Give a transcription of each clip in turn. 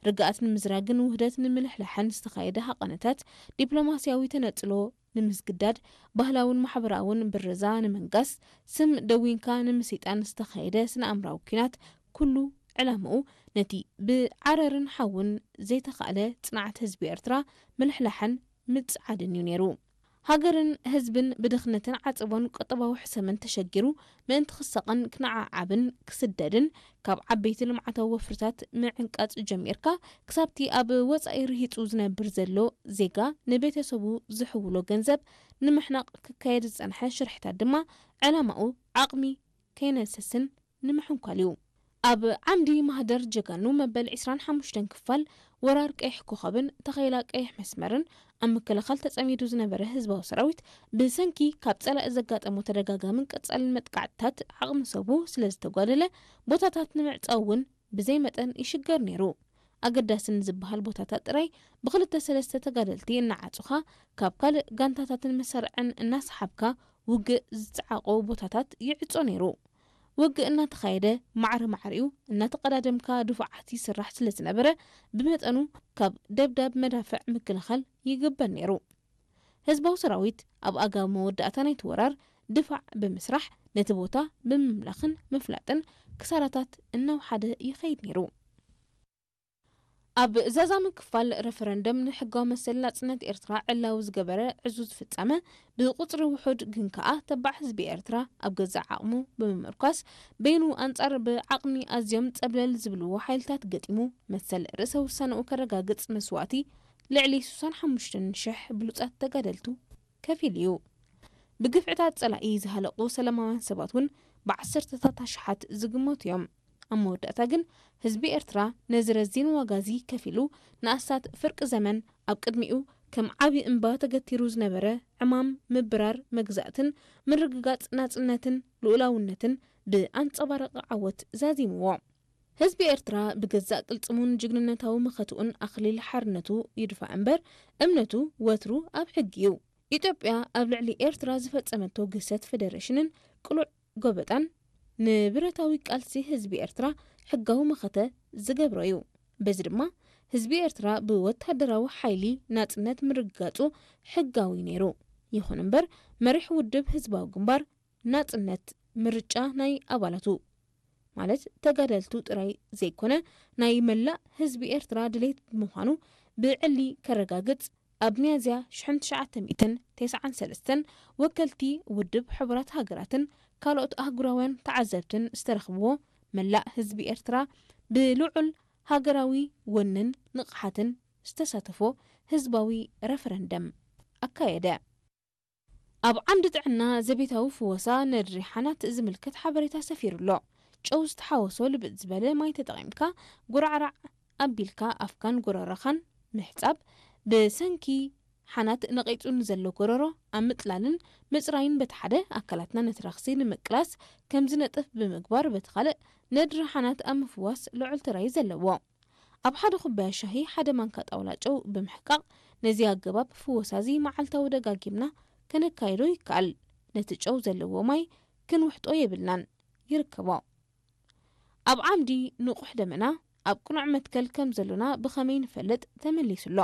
ርግኣት ንምዝራግን ውህደት ንምልሕላሕን ዝተኻየደ ሃቐነታት፣ ዲፕሎማስያዊ ተነጽሎ ንምስግዳድ፣ ባህላውን ማሕበራውን ብረዛ ንምንጋስ፣ ስም ደዊንካ ንምስይጣን ዝተኻየደ ስነ ኣእምራዊ ኲናት፣ ኩሉ ዕላምኡ ነቲ ብዓረርን ሓውን ዘይተኻእለ ጽንዓት ህዝቢ ኤርትራ ምልሕላሕን ምጽዓድን እዩ ነይሩ። ሃገርን ህዝብን ብድኽነትን ዓጸቦን ቁጠባዊ ሕሰምን ተሸጊሩ ምእንቲ ክሳቐን ክነዓዓብን ክስደድን፣ ካብ ዓበይቲ ልምዓታዊ ወፍርታት ምዕንቃጽ ጀሚርካ፣ ክሳብቲ ኣብ ወጻኢ ርሂጹ ዝነብር ዘሎ ዜጋ ንቤተሰቡ ዝሕውሎ ገንዘብ ንምሕናቕ ክካየድ ዝጸንሐ ሽርሕታት ድማ፣ ዕላማኡ ዓቕሚ ከይነሰስን ንምሕንኳል እዩ። ኣብ ዓምዲ ማህደር ጀጋኑ መበል ዕስራን ሓሙሽተን ክፋል፣ ወራር ቀይሕ ኮኸብን ተኸላ ቀይሕ መስመርን ኣብ ምክልኻል ተጸሚዱ ዝነበረ ህዝባዊ ሰራዊት፣ ብሰንኪ ካብ ጸላኢ ዘጋጠሞ ተደጋጋምን ቀጻልን መጥቃዕትታት ዓቕሚ ሰቡ ስለ ዝተጓደለ፣ ቦታታት ንምዕጻው እውን ብዘይ መጠን ይሽገር ነይሩ። ኣገዳስን ዝበሃል ቦታታት ጥራይ ብክልተ ሰለስተ ተጋደልቲ እናዓጹኻ፣ ካብ ካልእ ጋንታታትን መሳርዕን እናሰሓብካ ውግእ ዝጸዓቖ ቦታታት ይዕጾ ነይሩ። ውግእ እናተኻየደ፣ ማዕረ ማዕሪኡ እናተቐዳደምካ ድፉዓት ይስራሕ ስለ ዝነበረ፣ ብመጠኑ ካብ ደብዳብ መዳፍዕ ምክልኻል ይግበር ነይሩ። ህዝባዊ ሰራዊት ኣብ ኣጋ መወዳእታ ናይቲ ወራር ድፋዕ ብምስራሕ፣ ነቲ ቦታ ብምምላኽን ምፍላጥን ክሳራታት እናውሓደ ይኸይድ ነይሩ። ኣብ ዛዛሚ ክፋል፣ ረፈረንደም ንሕጋዊ መሰል ናጽነት ኤርትራ ዕላዊ ዝገበረ ዕዙዝ ፍጻመ፣ ብቁጽሪ ውሑድ ግን ከኣ ተባዕ ህዝቢ ኤርትራ ኣብ ገዛእ ዓቕሙ ብምምርኳስ፣ በይኑ ኣንጻር ብዓቕሚ ኣዝዮም ጸብለል ዝብልዎ ሓይልታት ገጢሙ፣ መሰል ርእሰ ውሳነኡ ከረጋግጽ መስዋእቲ ልዕሊ ስሳን ሓሙሽተን ሽሕ ብሉጻት ተጋደልቱ ከፊሉ እዩ። ብግፍዕታት ጸላኢ ዝሃለቑ ሰላማውያን ሰባት እውን ብዓሰርተታት ኣሽሓት ዝግመቱ እዮም። ኣብ መወዳእታ ግን ህዝቢ ኤርትራ ነዚ ረዚን ዋጋ እዚ ከፊሉ ንኣስታት ፍርቂ ዘመን ኣብ ቅድሚኡ ከም ዓቢ እምባ ተገቲሩ ዝነበረ ዕማም ምብራር መግዛእትን ምርግጋጽ ናጽነትን ልኡላውነትን ብኣንጸባራቒ ዓወት ዛዚምዎ። ህዝቢ ኤርትራ ብገዛእ ቅልጽሙን ጅግንነታዊ መኸትኡን ኣኽሊል ሓርነቱ ይድፋእ እምበር፣ እምነቱ ወትሩ ኣብ ሕጊ እዩ። ኢትዮጵያ ኣብ ልዕሊ ኤርትራ ዝፈጸመቶ ግህሰት ፈደረሽንን ቅሉዕ ጎበጣን፣ ንብረታዊ ቃልሲ ህዝቢ ኤርትራ ሕጋዊ መኸተ ዝገብሮ እዩ። በዚ ድማ ህዝቢ ኤርትራ ብወተሃደራዊ ሓይሊ ናጽነት ምርግጋጹ ሕጋዊ ነይሩ። ይኹን እምበር፣ መሪሕ ውድብ ህዝባዊ ግንባር ናጽነት ምርጫ ናይ ኣባላቱ፣ ማለት ተጋደልቱ ጥራይ ዘይኮነ፣ ናይ መላእ ህዝቢ ኤርትራ ድሌት ብምዃኑ ብዕሊ ከረጋግጽ፣ ኣብ ሚያዝያ ሽሕን ትሽዓተ ሚእትን ተስዓን ሰለስተን ወከልቲ ውድብ ሕቡራት ሃገራትን ካልኦት ኣህጉራውያን ተዓዘብትን ዝተረኽብዎ፣ መላእ ህዝቢ ኤርትራ ብልዑል ሃገራዊ ወንን ንቕሓትን ዝተሳተፎ ህዝባዊ ረፈረንደም ኣካየደ። ኣብ ዓንዲ ጥዕና፣ ዘቤታዊ ፍወሳ ነድሪ ሓናት ዝምልከት ሓበሬታ ሰፊሩ ኣሎ። ጨው ዝተሓወሶ ልብጥ ዝበለ ማይ ተጠቒምካ፣ ጉራዕራዕ ኣቢልካ ኣፍካን ጎረሮኻን ምሕጻብ፣ ብሰንኪ ሓናት ነቒጹ ንዘሎ ጎረሮ ኣብ ምጥላልን ምጽራይን በቲ ሓደ፣ ኣካላትና ነቲ ረኽሲ ንምቅላስ ከም ዝነጥፍ ብምግባር፣ በቲ ካልእ፣ ነድሪ ሓናት ኣብ ምፍዋስ ልዑል ተራ እዩ ዘለዎ። ኣብ ሓደ ኩባያ ሻሂ ሓደ ማንካ ጣውላ ጨው ብምሕቃቕ፣ ነዚ ኣገባብ ፍወሳ እዚ መዓልታዊ ደጋጊምና ከነካይዶ ይከኣል። ነቲ ጨው ዘለዎ ማይ ክንውሕጦ የብልናን። ይርከቦ። ኣብ ዓምዲ ንቑሕ ደመና፣ ኣብ ቅኑዕ መትከል ከም ዘሎና ብኸመይ ንፈልጥ? ተመሊሱ ኣሎ።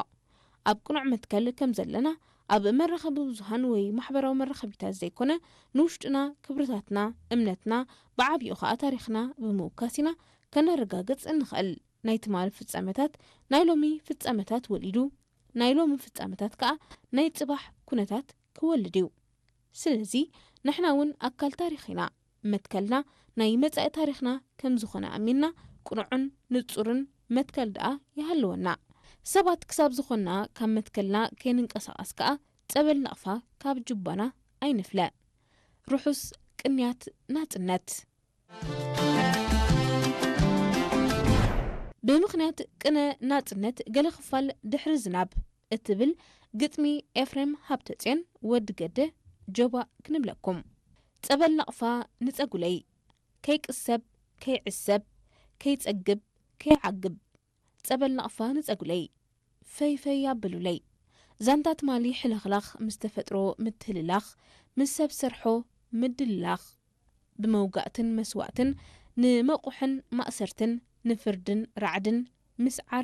ኣብ ቅኑዕ መትከል ከም ዘለና ኣብ መራኸቢ ብዙሃን ወይ ማሕበራዊ መራኸቢታት ዘይኮነ፣ ንውሽጥና፣ ክብርታትና፣ እምነትና፣ ብዓቢኡ ኸኣ ታሪኽና ብምውካስ ኢና ከነረጋግጽ እንኽእል። ናይ ትማሊ ፍጻመታት ናይ ሎሚ ፍጻመታት ወሊዱ፣ ናይ ሎሚ ፍጻመታት ከኣ ናይ ጽባሕ ኩነታት ክወልድ እዩ። ስለዚ ንሕና እውን ኣካል ታሪኽ ኢና። መትከልና ናይ መጻኢ ታሪኽና ከም ዝኾነ ኣሚንና፣ ቅኑዕን ንጹርን መትከል ደኣ ይሃልወና። ሰባት ክሳብ ዝኾንና፣ ካብ መትከልና ከይንንቀሳቐስ ከኣ ጸበል ናቕፋ ካብ ጁባና ኣይንፍለ። ርሑስ ቅንያት ናጽነት። ብምኽንያት ቅነ ናጽነት፣ ገለ ክፋል ድሕሪ ዝናብ እትብል ግጥሚ ኤፍሬም ሃብተጽዮን ወዲ ገደ፣ ጆባእ ክንብለኩም። ጸበል ናቕፋ ንጸጉለይ፣ ከይቅሰብ፣ ከይዕሰብ፣ ከይጸግብ፣ ከይዓግብ። ጸበል ናቕፋ ንጸጉለይ፣ ፈይ ፈይ ኣብሉለይ። ዛንታ ትማሊ ሕልኽላኽ ምስ ተፈጥሮ ምትህልላኽ፣ ምስ ሰብ ሰርሖ ምድልላኽ፣ ብመውጋእትን መስዋእትን፣ ንመቑሕን ማእሰርትን፣ ንፍርድን ራዕድን ምስዓር